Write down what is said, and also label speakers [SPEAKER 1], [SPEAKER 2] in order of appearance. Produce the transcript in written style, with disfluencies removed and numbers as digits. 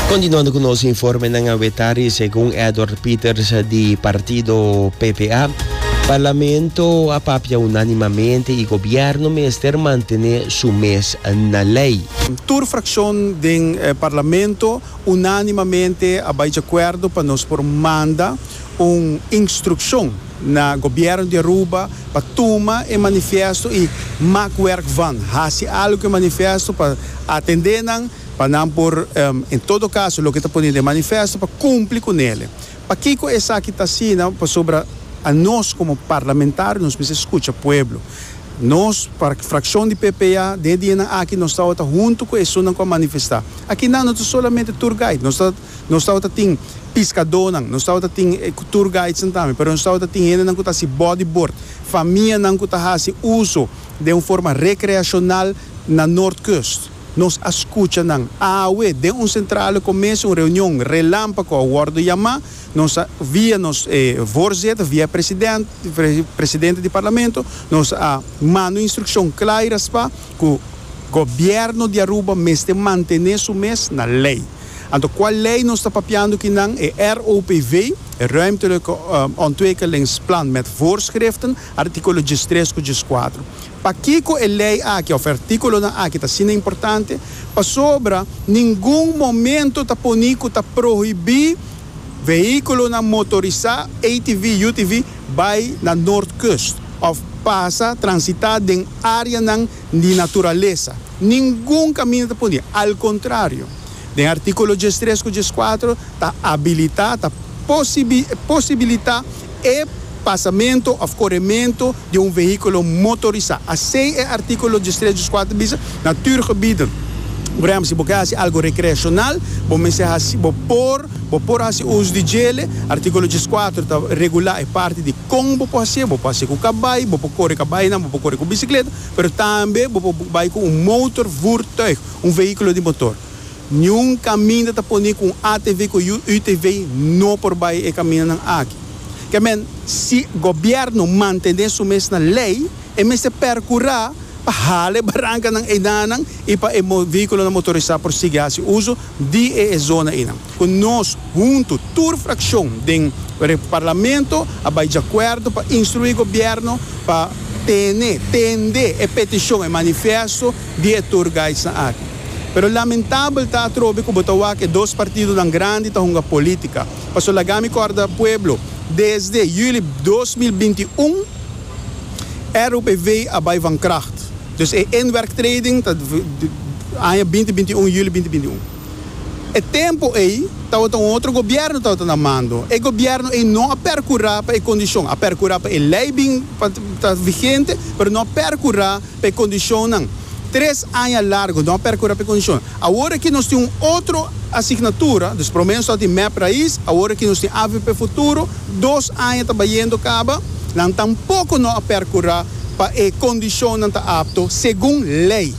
[SPEAKER 1] Continuando cu nos informenan awe tardi, segun Edward Pieters di partido PPA, Parlamento a papia unanimamente y gobierno mester mantene su mes na ley.
[SPEAKER 2] Tur fraccion den Parlamento unanimamente a bay djacuerdo pa nos por manda un instruccion na Gobierno di Aruba pa tuma e manifiesto y maak werk van, haci algo cu e manifiesto pa atende nan, pa nan por, en todo caso loke ta pone den e manifiesto pa cumpli cu nele. Pakico esaki ta asina? Pasobra anos como parlamentario nos mester scucha pueblo. Nos, fraccion di PPA, den e dianan aki nos tabata hunto cu esunnan cu a manifesta. Akinan no ta solamente tour guide, nos ta nos tabata tin piscadónan, nos tabata tin tour guidesnan tambe, pero nos tabata tin hendenan cu ta haci bodyboard, famianan cu ta haci uso den un forma recreacional na Noordkust. Nos a scucha nan. Awe, den un centrale comese, un reunion relampago a wordo yama, nos a, via nos voorzitter, via president, presidente di parlamento, nos a manda un instruccion cla y raspa cu Gobierno di Aruba mester mantene su mes na ley. Anto cual ley nos ta papiando kinan? E ROPV, e Ruimtelijke Ontwikkelingsplan met Voorschriften, articulo diestres cu diescuatro. Pakiko e lei aki òf e artíkulonan aki ta asina importante? Pasobra ningun momento ta poni ku ta prohibí vehíkulonan motorisá, ATV, UTV, bai na Noordkust òf pasa, transitá den áreanan di naturalesa. Ningun kaminda ta poni. Al kontrario, den artíkulo diestres ku dieskuatro ta abilitá, ta posibilitá e pasamento of coremento di un vehiculo motorisa. Asey e articulo diestres diescuater bisa, Natuurgebieden. Por ehempel, si bo ke haci algo recreacional, bo mester haci, bo por, bo por haci uso di djele. Articulo diescuater ta regula e parti di con bo por hacié. Bo por hacié cu cabay, bo por core cabaynan, bo por core cu bicicleta, pero tambe bo por bay cu un motorvoertuig, un vehiculo di motor. Niun kaminda ta pone ku un ATV ku UTV no por bai e kamindanan aki. Ke men, si gobièrnu mantené su mes na lei, e mester pèrkurá pa hala e barankanan eidanan i pa e vehíkulonan motorisá por sigui hasi uso di e e zona einan. Ku nos huntu, tur frakshon den Parlamento a bai djakuerdo pa instruí gobièrnu pa tene, tende e petishon, e manifesto di e tour guidesnan aki. Pero lamentabel ta atrobe ku bo ta wak e dos partidonan grandi ta hunga politica. Paso laga mi korda pueblo, desde juli 2021 ROPV a bai van kracht. Dus e inwerktreding ta aña 2021, juli 2021. E tempo ei tabata un otro gobierno tabata na mando. E gobierno ei no a percura pa e condicion, a percura pa e ley bin pa ta vigente, pero no a percura pa e kondishonnan. Tres aña largu no a perkurá pa e kondishonnan. Awor aki nos tin un otro asignatura, dus promé nos tabatin mep Rais, awor aki nos tin avp Futuro, dos aña ta bayendo kaba, nan tampoko no a perkurá pa e kondishonnan ta apto segun lei.